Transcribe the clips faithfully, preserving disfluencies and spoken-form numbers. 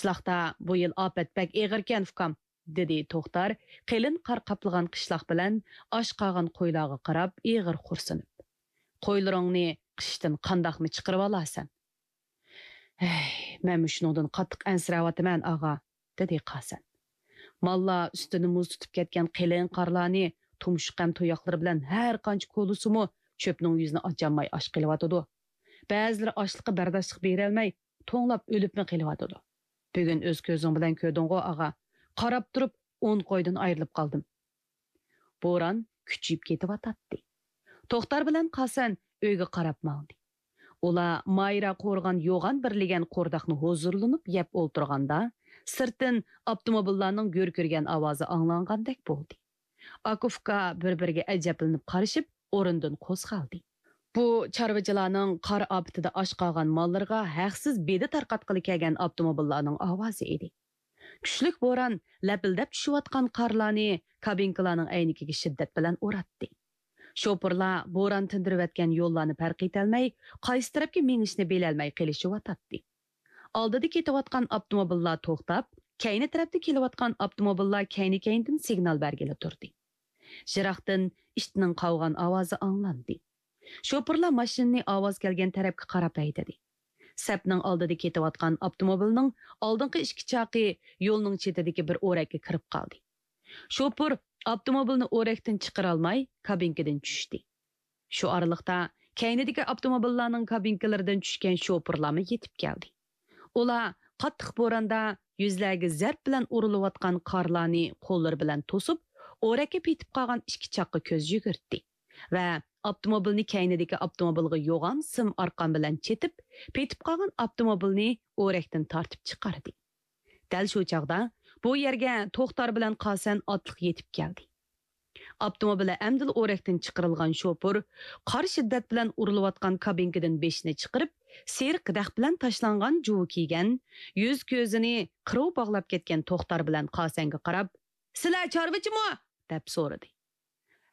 قىشلاقتا بۇ يىل ئاپەت بەك ئېغىركەن، ئۇكام، دېدى توختار قېلىن قار قاپلىغان قىشلاق بىلەن ئاچ قالغان قويلارغا قاراپ ئېغىر خورسىنىپ. قويلىرىڭنى قىشتىن قانداقمۇ چىقىرىۋالارسەن؟ ھەي، مەنمۇ شۇنىڭدىن قاتتىق ئەنسىرەۋاتىمەن، ئاغا، دېدى قاسەن. ماللار ئۈستىنى مۇز تۇتۇپ كەتكەن قېلىن قارلارنى تۇمشۇق ھەم تۇياقلىرى بىلەن ھەر قانچە كولىسىمۇ چۆپنىڭ يۈزىنى ئاچالماي ئاچ قېلىۋاتىدۇ. بەزىلىرى ئاچلىققا بەرداشلىق بېرەلمەي، توڭلاپ ئۆلۈپمۇ قېلىۋاتىدۇ. بۈگۈن ئۆز كۆزۈڭ بىلەن كۆردۈڭغۇ، ئاغا. قاراپ تۇرۇپ، ئون قويدىن ئايرىلىپ قالدىم. بوران كۈچىيىپ كېتىۋاتاتتى. توختار بىلەن قاسەن ئۆيگە قاراپ ماڭدى. ئۇلار مايرا قورغان يوغان بىر لېگەن قورداقنى ھۇزۇرلىنىپ يەپ ئولتۇرغاندا، سىرتتىن ئاپتوموبىللارنىڭ گۈركىرىگەن ئاۋازى ئاڭلانغاندەك بولدى. ئاكا-ئۇكا بىر-بىرىگە ئەجەبلىنىپ قارىشىپ، ئورنىدىن قوزغالدى. بۇ چارۋىچىلارنىڭ قار ئاپىتىدە ئاچ قالغان ماللىرىغا ھەقسىز بېدە تارقاتقىلى كەلگەن ئاپتوموبىللارنىڭ ئاۋازى ئىدى. كۈچلۈك بوران لەپىلدەپ چۈشۈۋاتقان قارلارنى كابىنكىلارنىڭ ئەينىكىگە شىددەت بىلەن ئۇراتتى. شوپۇرلار بوران تىندۇرۇۋەتكەن يوللارنى پەرق ئېتەلمەي، قايسى تەرەپكە مېڭىشنى بىلەلمەي قېلىشىۋاتاتتى. ئالدىدا كېتىۋاتقان ئاپتوموبىللار توختاپ، كەينى تەرەپتە كېلىۋاتقان ئاپتوموبىللار كەينى-كەينىدىن سىگنال بەرگىلى تۇردى. يىراقتىن ئىتنىڭ قاۋىغان ئاۋازى ئاڭلاندى. شوپۇرلار ماشىنىنى ئاۋاز كەلگەن تەرەپكە قاراپ ھەيدىدى. سەپنىڭ ئالدىدا كېتىۋاتقان ئاپتوموبىلنىڭ ئالدىنقى ئىككى چاقى يولنىڭ چېتىدىكى بىر ئورەككە كىرىپ قالدى. شوپۇر ئاپتوموبىلنى ئورەكتىن چىقىرالماي، كابىنكىدىن چۈشتى. شۇ ئارىلىقتا كەينىدىكى ئاپتوموبىللارنىڭ كابىنكىلىرىدىن چۈشكەن شوپۇرلارمۇ يېتىپ كەلدى. ئۇلار قاتتىق بوراندا يۈزلەرگە زەرب بىلەن ئۇرۇلۇۋاتقان قارلارنى قوللىرى بىلەن توسۇپ، ئورەككە پېتىپ قالغان ئىككى چاققا كۆز يۈگۈرتتى ۋە ئاپتوموبىلنى كەينىدىكى ئاپتوموبىلغا يوغان سىم ئارقان بىلەن چېتىپ، پېتىپ قالغان ئاپتوموبىلنى ئورەكتىن تارتىپ چىقاردى. دەل شۇ چاغدا بۇ يەرگە توختار بىلەن قاسەن ئاتلىق يېتىپ كەلدى. ئاپتوموبىلى ئەمدىلا ئورەكتىن چىقىرىلغان شوپۇر قارا شىددەت بىلەن ئۇرۇلۇۋاتقان كابىنكىدىن بېشىنى چىقىرىپ، سېرىق دەخ بىلەن تاشلانغان جۇۋا كىيگەن، يۈز-كۆزىنى قىرىۋ باغلاپ كەتكەن توختار بىلەن قاسەنگە قاراپ، «سىلەر چارۋىچىمۇ؟» دەپ سورىدى.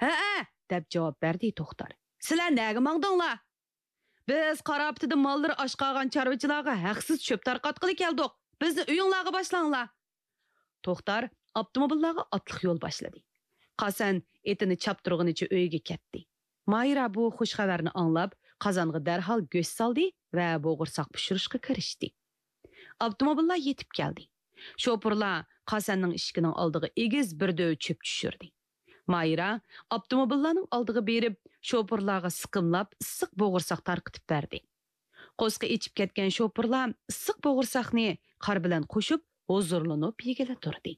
«ھەئە!» دەپ جاۋاب بەردى توختار. «سىلەر نەگە ماڭدىڭلار؟» «بىز قار ئاپىتىدە ماللىرى ئاچ قالغان چارۋىچىلارغا ھەقسىز چۆپ تارقاتقىلى كەلدۇق. بىزنى ئۆيۈڭلارغا باشلاڭلار.» توختار ئاپتوموبىللارغا ئاتلىق يول باشلىدى. قاسەن ئېتىنى چاپتۇرغىنىچە ئۆيىگە كەتتى. ماھىرە بۇ خۇش خەۋەرنى ئاڭلاپ، قازانغا دەرھال گۆش سالدى ۋە بوغۇرساق پىشۇرۇشقا كىرىشتى. ئاپتوموبىللار يېتىپ كەلدى. شوپۇرلار قاسەننىڭ ئىشىكىنىڭ ئالدىغا ئېگىز بىر دۆۋە چۆپ چۈشۈردى. ماھىرە ئاپتوموبىللارنىڭ ئالدىغا بېرىپ، شوپۇرلارغا سىقىملاپ ئىسسىق بوغۇرساق تارقىتىپ بەردى. قورسىقى ئېچىپ كەتكەن شوپۇرلار ئىسسىق بوغۇرساقنى قار بىلەن قوشۇپ، ھۇزۇرلىنىپ يېگىلى تۇردى.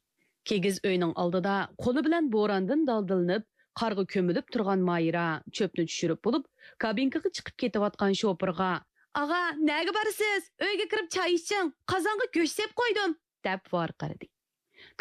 كىگىز ئۆينىڭ ئالدىدا قولى بىلەن بوراندىن دالدىلىنىپ، قارغا كۆمۈلۈپ تۇرغان ماھىرە چۆپنى چۈشۈرۈپ بولۇپ، كابىنكىغا چىقىپ كېتىۋاتقان شوپۇرغا، «ئاغا، نەگە بارىسىز؟ ئۆيگە كىرىپ چاي ئىچىڭ، قازانغا گۆش سېلىپ قويدۇم.» دەپ ۋارقىرىدى.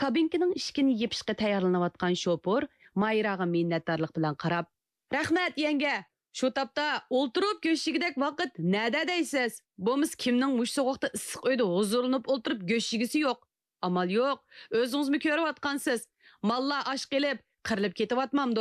كابىنكىنىڭ ئىشىكىنى يېپىشقا تەييارلىنىۋاتقان شوپۇر ماھىرەغا مىننەتدارلىق بىلەن قاراپ، «رەھمەت، يەڭگە! شۇ تاپتا ئولتۇرۇپ گۆش يېگۈدەك ۋاقىت نەدە دەيسىز؟ بولمىسا كىمنىڭ مۇشۇ سوغۇقتا ئىسسىق ئۆيدە ھۇزۇرلىنىپ ئولتۇرۇپ گۆش يېگۈسى يوق؟ ئامال يوق، ئۆزىڭىزمۇ كۆرۈۋاتقانسىز. ماللار ئاچ قېلىپ، قىرىلىپ كېتىۋاتمامدۇ؟»